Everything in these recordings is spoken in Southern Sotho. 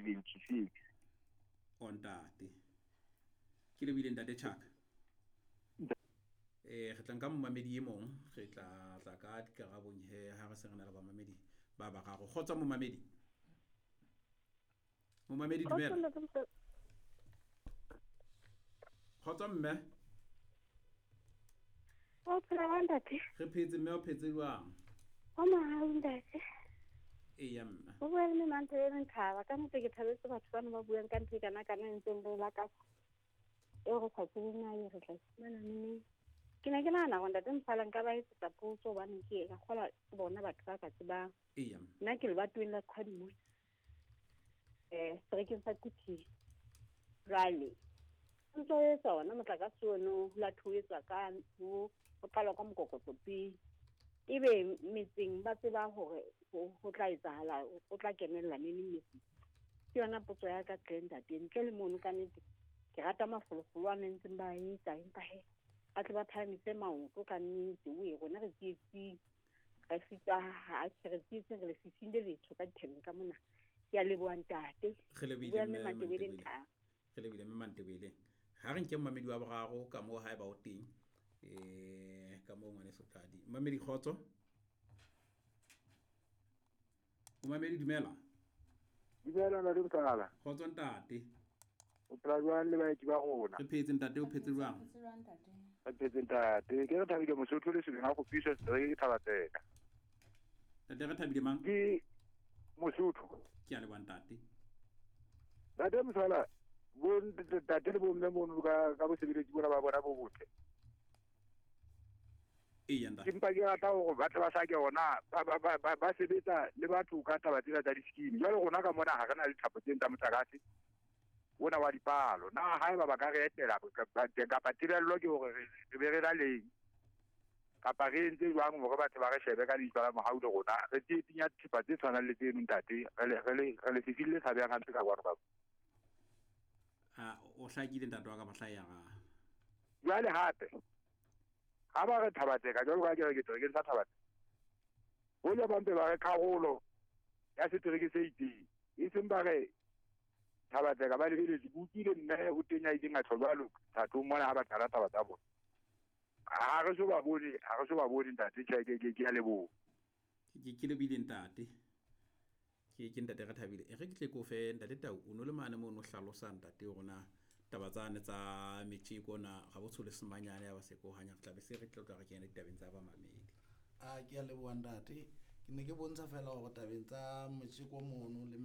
76. O ntate. Ke lebohile ntate Chaka. Re tla nka momamedi e mong, re tla tla ka dikarabong he ha re se re na le bamamedi ba bararo. Kgotso momamedi. Momamedi dumela. Kgotso mme. O phela jwang ntate? Re phetse mme, o phetse jwang? O mahau ntate. Eya mme. O bua le mme Mantebele Nthaba. Ka nnete ke thabetse batho bana ba buang ka ntho e kana kana e ntseng re lakatsa. Eo re sa tsebeng na e re tla e fumana neneng. Ke ne ke nahana hore ntate Mosala nka ba etsetsa potso hobane ke ka kgolwa ke bona batho ba ka tsebang. Eya. Nna ke lebatoweng la Qhwadimo. Seterekeng sa Quthing. Jwale o ntso o etsa ona motlakase ono ho la ho etswa ka ho qalwa ka mokokotlo pele. Ebe metseng ba tseba hore ho tla etsahala, o tla kenella neneng metseng. Ke yona potso ya ka tle ntate. Ntle le mono ka nnete ke rata mafolofolo a nentseng ba etsa, empa he ba tle ba phahamise maoto ka nnete. Oe rona re tsietsing, re sitwa ha re tsietsing, re lefifing le letsho ka dithabeng ka mona. Ke a leboha ntate. Re lebohile Bua mme mme Mantebele Mantebele. Nthaba. Re lebohile mme Mantebele. Ha re nke momamedi wa boraro ka moo haeba o teng. Ka moo ngwaneso Tladi. Momamedi kgotso. Momamedi dumela. Dumela ntate Mosala. Kgotso ntate. O phela jwang le baeti ba rona? Re phetse ntate, o phetse jwang? Re phetse ntate. Ke re Thabile Mosotho le Sebeng a kgopiswa setereke ke Thabatseka. Ntate re Thabile mang? Ke Mosotho. Ke a leboha ntate. Ntate Mosala, bo ntate le bomme mono ka bosebeletsi bona ba bona bo botle. Eya ntate. Ke mpa ke rata hore ba tle ba hlake hona ba sebetsa le batho ka taba tsena tsa di-scheme. Jwale rona ka mona ha re na le dithapo tsena tsa motlakase ona wa dipalo. Na haeba ba ka re etela kapa tebello ke hore re be re na leng kapa re entse jwang hore batho ba re shebe ka leihlo la mohau le rona re tsietsing ya thepa tse tshwanang le tseno ntate, re le fifing le tshabehang hampe ka kwano ka. A o hlakile ntate wa ka mohla ya ga. Jwale hape ha ba re Thabatseka jwalo ka ke re ke seterekeng sa Thabatseka, hoja ba mpe ba re karolo ya setereke se itseng, e seng ba re Thabatseka ba lebeletse. Ke utlwile mme o teng ya ileng a tjho jwalo thatong mona ha ba qala taba tsa bona. Ha re so ba bone, ha re so ba bone ntate, tjhe, ke a leboha. Ke lebohile ntate. Ke ntate re Thabile. E re ke tle ke o fe ntate Tau, o no le mane mono hlalosa ntate hore na taba tsane tsa metjeko na ga bo tshole semanyane ya ba se ko hanya, re tla be se re tlo tla re kena ditabeng tsa bamamedi. A ke a leboha ntate. Ke ne ke bontsha fela hore tabeng tsa metjeko mono le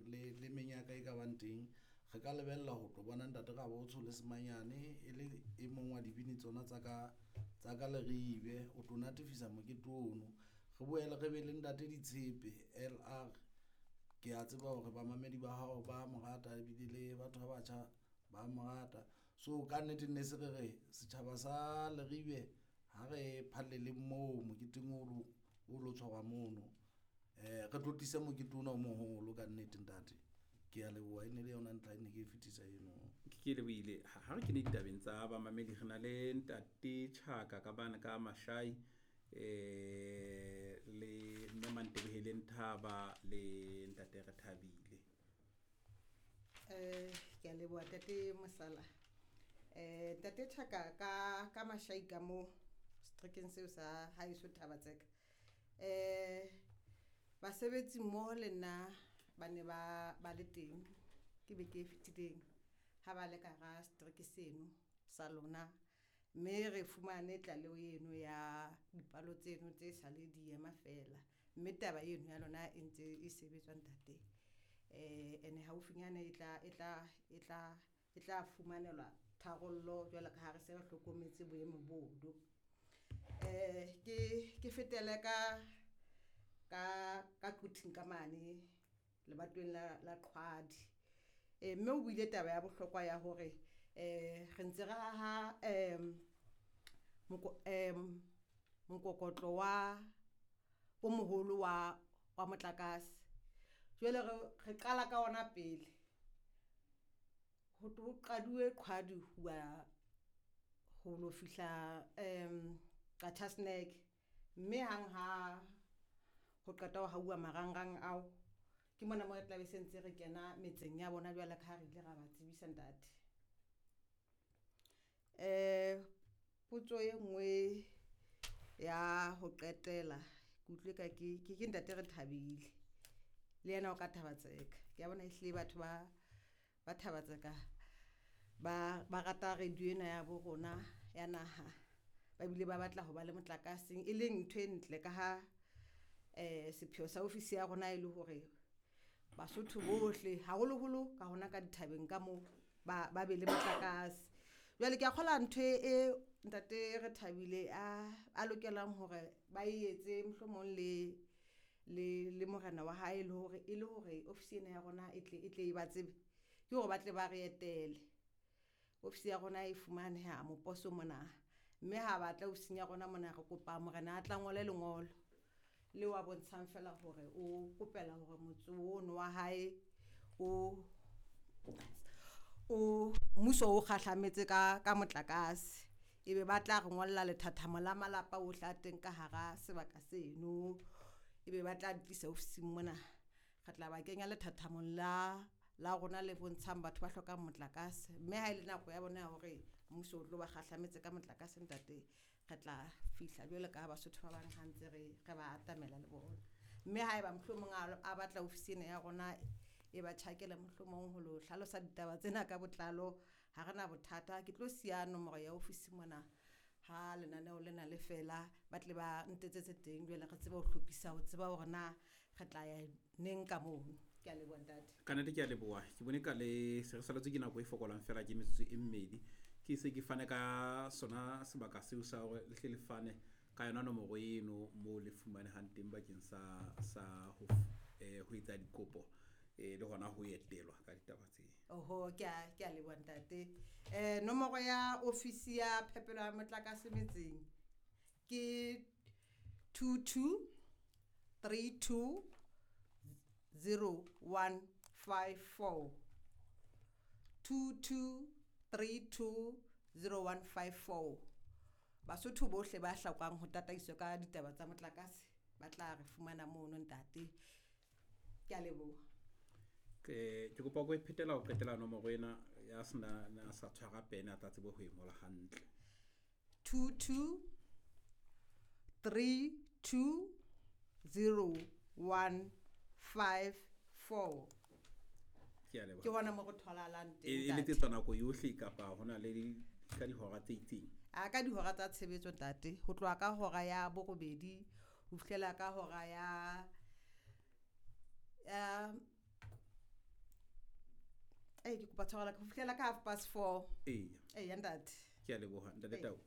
le menyaka e ka bang teng, re ka lebella ho tlo bona ntate Rabotsho le Semanyane e le e mong wa dibini tsona tsa ka Leribe, o tlo natefisa mokete ono. Re boele re be le ntate Ditshepe LR. Ke a tseba hore bamamedi ba hao ba mo rata ebile le batho ba batjha ba mo rata. So ka nnete ne se re re setjhaba sa Leribe ha re phallele moo moketeng o lo tshwarwa mono. Re tlotlise mokete ona o moholo ka nnete ntate. Ke a leboha, e ne le yona ntlha e ne ke e fetisa eno. Ke lebohile. Ha re kene ditabeng tsa bamamedi, re na le ntate Chaka ka bana ka Mashai, le mme Mantebele Nthaba le ntate Re Thabile. Ke a leboha ntate Mosala. Ntate Chaka ka Mashai ka mo seterekeng seo sa haeso Thabatseka. Basebetsi mmoho le nna ba ne ba le teng ke beke e fetileng ha ba le ka hara setereke seno sa lona, mme re fumane tlaleho eno ya dipalo tseno tse sa le di ema fela, mme taba eno ya lona e ntse e sebetswa ntate. Ene haufinyane e tla fumanelwa tharollo jwalo ka ha re se re hlokometse boemo bono. Ke fetele ka Quthing ka mane lebatoweng la Qhwadi. Mme o buile taba ya bohlokwa ya hore re ntse re haha mokokotlo wa o moholo wa motlakase. Jwale re qala ka ona pele. Ho qaduwe Qhwadi ho ho lo fihla Qacha's Nek, mme hang ha ho qeta ho hauwa marangrang ao, Ke mona mo re tlabe se ntse re kena metseng ya bona jwale ka ha re ile ra ba tsebisa ntate. Potso e nngwe ya ho qetela ke utlwe ka ke ntate Rethabile le yena o ka Thaba-Tseka. Kea bona ehlile batho ba Thaba-Tseka ba rata radio ena ya bo rona ya naha, ba bile ba batla ho ba le motlakaseng e leng ntho e ntle ka ha sepheo sa ofisi ya rona e le hore Basotho bohle haholoholo ka hona ka dithabeng ka moo ba be le motlakase. Jwale kea kgolwa ntho e ntate Rethabile a lokelang hore ba e etse mohlomong le morena wa hae le hore e le hore ofisi ena ya rona e tle e ba tsebe, ke hore ba tle ba re etele. Ofisi ya rona e fumaneha Moposo mona, mme ha batla ofising ya rona mona re kopa morena a tla ngole lengolo leo a bontshang feela hore o kopela hore motse ono wa hae o mmuso o kgahlametse ka motlakase. Ebe ba tla re ngolla lethathamo la malapa ohle a teng ka hara sebaka seno, ebe ba tla tlisa ofising mona. Re tla ba kenya lethathamong la rona le bontshang batho ba hlokang motlakase, mme ha ele nako ya bona ya hore mmuso o tlo ba kgahlametse ka motlakase ntate, re tla fihla jwalo ka Basotho ba bang ha ntse re ba atamela le bona. Mme haeba mohlomong a batla ofisi ena ya rona e ba tjhakela mohlomong ho lo hlalosa ditaba tsena ka botlalo, ha rena bothata. Ke tlo siya nomoro ya ofisi mona ha lenaneo lena le fela, ba tle ba ntetsetse teng jwale re tsebe ho hlophisa ho tseba hore na re tla ya neng ka mono. Ke a leboha ntate. Ka nnete ke a leboha. Ke bone ka le se re saletswe ke nako e fokolang fela ke metsotso e mmedi. Ke se ke fane ka sona sebaka seo sa hore le hle le fane ka yona nomoro eno moo le fumanehang teng bakeng sa ho etsa dikopo le hona ho etelwa ka ditaba tseo. Oho, ke a leboha ntate. Nomoro ya ofisi ya phepelo ya motlakase metseng ke 22 32 0154. 22 32 0154. Basotho bohle ba hlokang ho tataiswa ka ditaba tsa motlakase ba tla re fumana mono ntate. Ke a leboha. Ke kopa go phetela ho qetela nomoro ena ya sena na sa tshwara pene a tla tsebe ho e ngola hantle. 22 32 0154. Ke a leboha. Ke hona mo re tholahalang teng. E letsetswa nako yohle kapa hona le ka dihora tse itseng? A ka dihora tsa tshebetso ntate, ho tloha ka hora ya borobedi ho fihlela ka hora ya ke kopa tshwarelo ho fihlela ka 4:30. Eya ntate. Ke a leboha ntate Tau.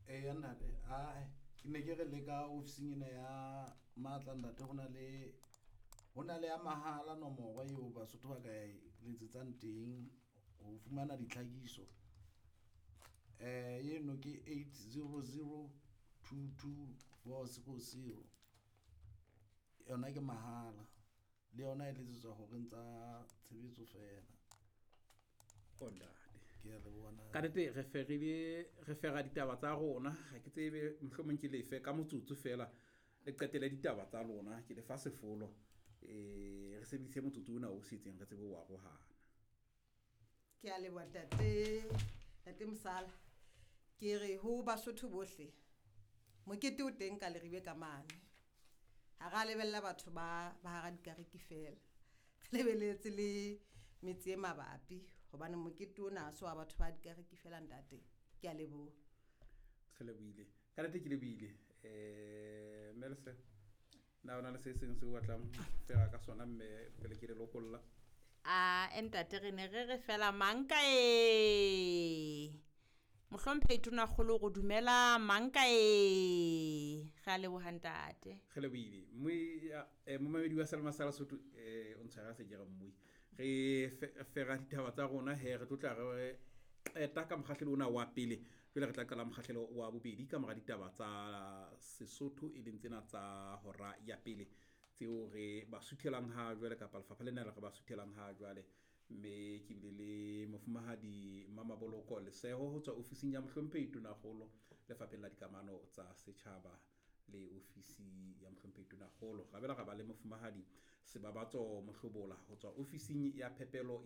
Eya ntate, ke ne ke re le ka ofising ena ya matla ntate, hona le ya mahala nomoro eo Basotho ba ka e letsetsang teng ho fumana ditlhakiso. Eno ke 800 22 400. Yona ke mahala, le yona e letsetswa horeng tsa tshebetso fela. Ntate. Ke a leboha ntate. Ka nnete re fera ditaba tsa rona, ha ke tsebe mohlomong ke lefe ka motsotso fela le qetele ditaba tsa lona, ke lefa sefolo. Re sebedise motsotso ona o setseng re tsebe ho arohana. Ke a leboha ntate, ntate Mosala. Ke re ho Basotho bohle, mokete o teng ka Leribe ka mane. Ha ra lebella batho ba hara dikariki fela. Re lebeletse le metse e mabapi hobane mokete ona ha se wa batho ba dikariki fela ntate. Ke a leboha. Re lebohile. Ka nnete ke lebohile. Melse, na ona le se seng seo o batlang fela ka sona mme pele ke le lokolla? A ntate re ne re re fela manka e. Mohlomphehi Tonakgolo go dumela manka e. Re a leboha ntate. Re lebohile. Momamedi wa Selma sa Lesotho, o ntshwara se ke re mmui. Re fera ditaba tsa rona he re tlotla re qeta ka mokgahlelo ona wa pele. Jwale re tla qala mokgahlelo wa bobedi ka mora ditaba tsa Sesotho e leng tsena tsa hora ya pele tseo re ba suthelang ha jwale kapa lefapha lena le re ba suthelang ha jwale. Mme ke bile le mofumahadi Mamaboloko Leseho ho tswa ofising ya Mohlomphehi Tonakgolo lefapheng la dikamano tsa setjhaba. Le ofisi ya mohlomphehi Tonakgolo. Ra bela ra ba le mofumahadi Sebabatso Mohlobola ho tswa ofising ya phepelo.